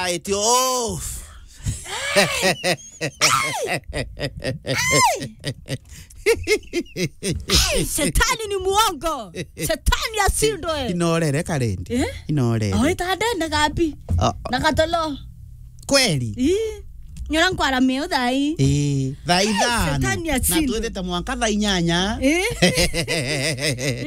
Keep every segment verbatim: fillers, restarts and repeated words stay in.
Eti, oh. Ai, shetani ni muongo. Shetani ashindwe. Inorere karendi. Eh? Inorere. Oita ndene gapi? Oh. Na katolo. Kweli? Ii. Nyora nkwara meo thai. Ii, thaa ithano. Shetani ashindwe. Na twithite mwanka thaa inyanya. Ii.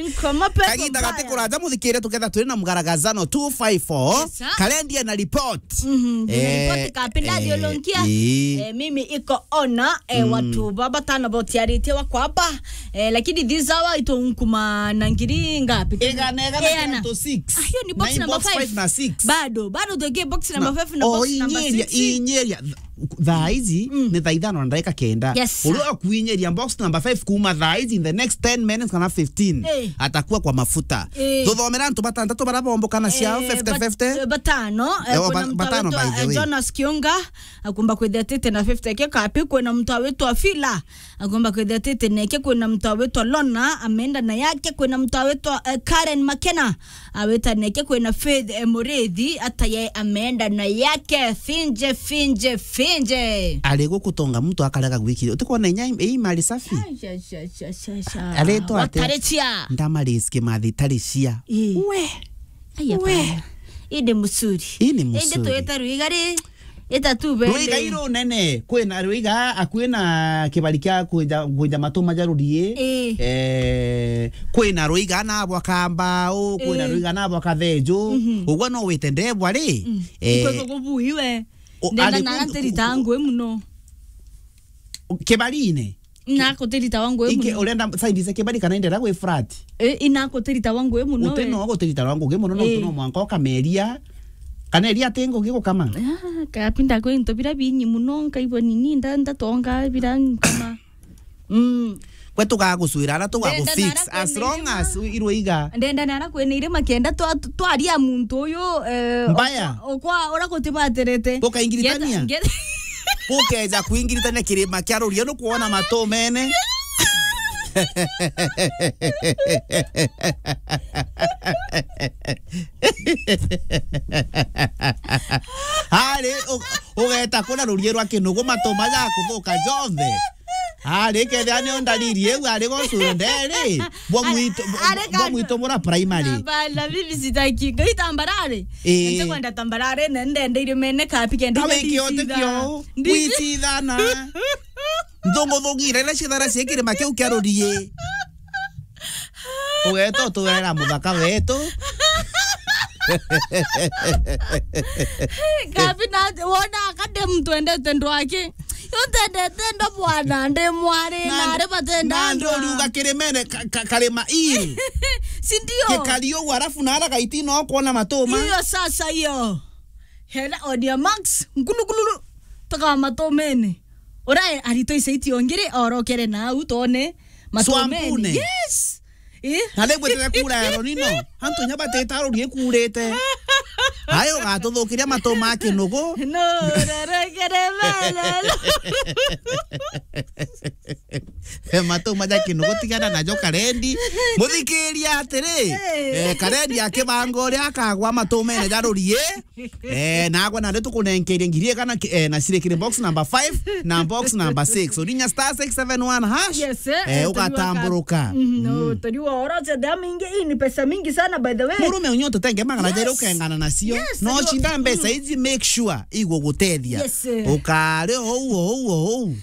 Nkoma pepo. Kaginda mbaya. Gati kuraja muthikire tuketha turi na mgaragazano two five four. Yes, sir. Karendi ena report. Mhm, ndina eh, ripoti kapinda eh, thiolonkia. Ii. Eh, mimi iko ona, eh, mm, watu baba tano botiaritie wako hapa. Eh, lakini this hour ito nkuma na ngiri ngapi? Igana, igana, eh, ana. Twenty-six. Ah, hiyo ni box number five. Na box five na six. Bado, bado tuweke box number five na oh, box number inyeria, six. Inyeria. Thaa ici, mm, ni thaa ithano na ndagika kenda. Yes, sir. Uria ukuinyeria box number five kuma thaa ici, in the next ten minutes kana fifteen, eh, atakuwa kwa mafuta. Eh. Tuthomera antu batantatu bara bomboka na ciao, eh, fifty fifty. Bat-, batano, eh, eh, kuna ba-, mtu batano, anaitwa, by the eh, way. Jonas Kiunga, akumba kwithia tete na fifty ke kapi, kwina mtu awitwa Fila, akumba kwithia tete neke, kwina mtu awitwa Lona, ameenda na yake, kwina mtu awitwa, eh, Karen Makena, awita neke, kwina Faith, eh, Murithi, ata ye ameenda na yake, finje, finje, finje. Ari gukutonga muntu akarega gwikire. Utikwona inya i-, i mali safi? Ai, sha, sha, sha, sha, sha. Aretwa ate? Watarichia. Ndamariski mathi tarichia. Ii. We. Aya we. Bana. Ii ni musuri. Ii ni musuri. Indi twita ruigari. Ita tu bende. Ruiga iru nene, kwina ruiga akui na kibari kia kwinja, kwinja matu majarurie. Ii. Eh, kwina ruiga na bwa kambau, kwina, ii, ruiga na bwa kathenju. Mhm. Ugwa no wite ndebwa ri? Mm. Eh, ikwe kugubu iwe. O, ndenda ari nara ku-, ntirita ku-, ngui muno. Kibarine. Inakutirita wa ngui muno. Ingi urenda side cia kibari kana indera gwi flat? Eh, inakutirita wa ngui muno. Uti we. No gutirita wa ngui muno, no, eh, tu no mwanka ukameria. Kana eria ati ngugi gukama. Ah, kapinda kwi into bira binyi muno, nkaigua nini, nda-, ndatonga bira nkama. Mm. Gwe tugagucwira na tugagu fix. Ndenda nara as long kwina as iruiga. Ndenda nara kwina irima kenda twa-, twaria muntu uyu, eh, mbaya. Okwa, okwa ura gutibatirite. Gukaingiritania? Ngeta-, ngeta- Gukeja kuingiritania kirima kia rurie, nukwona matu mene. Ari, u-, ugeta kuna rurie rwa kinugu, matu maja kuthuka jonthe. Ari, kethia nio ndariri iu, ari gocuro nderi. Bwa mwitu, ari bwa mwitu mura primary. Na bana, mimi sitaki. Ngai tambarare. Eh. Nte kwenda tambarare, na ndende irio mene kapi kende. Kawe kio te kio. Ndicithana. Nthunguthungire na cithara cia kirima kiu kia rurie. Ugeta uturera muthaka wetu. Kabi na wona akade mtu endete ndwake. Yo ntendete ndo bwana, ndi mwari, na, na ari batenda na ndo ndwa. Riuga kirimene ka-, ka-, karima ii. Si ndio? Gikari uguo, alafu na ara gaiti no kuona matuma. Iyo sasa iyo. Hena Audio Max, nkulukululu, tuka matumene. Ura arito ice itio ngiri, orokere na au tone matumene. Swampune. Yes. Eh? Na riu gwitire kura ya ronino. Antu nya bateta rurie kurite. Ayo ugatuthukiria matu ma kinugu. No, rorokere bana. Matu maja kinugu, tigana najo karendi. Muthikiria atiri, eh, karendi akibanga uria akagwa matumene ja rurie. Eh, nagwe nandi tukunenkerie ngiri igana ki-, eh, na cirikire box number five na box number six. Urinya star six seven one hash. Yes, eh, eh, eh, ugatamburuka. Mhm, no, mm. Tari wa oro cia damu ingi, hii ni pesa mingi sana, by the way. Murume unyo tutenge magana jeri ukengana nacio. Yes, no, tari wa chinda mbeca ici, make sure igugutethia. Yes, eh. Ukari ou, ou, ou.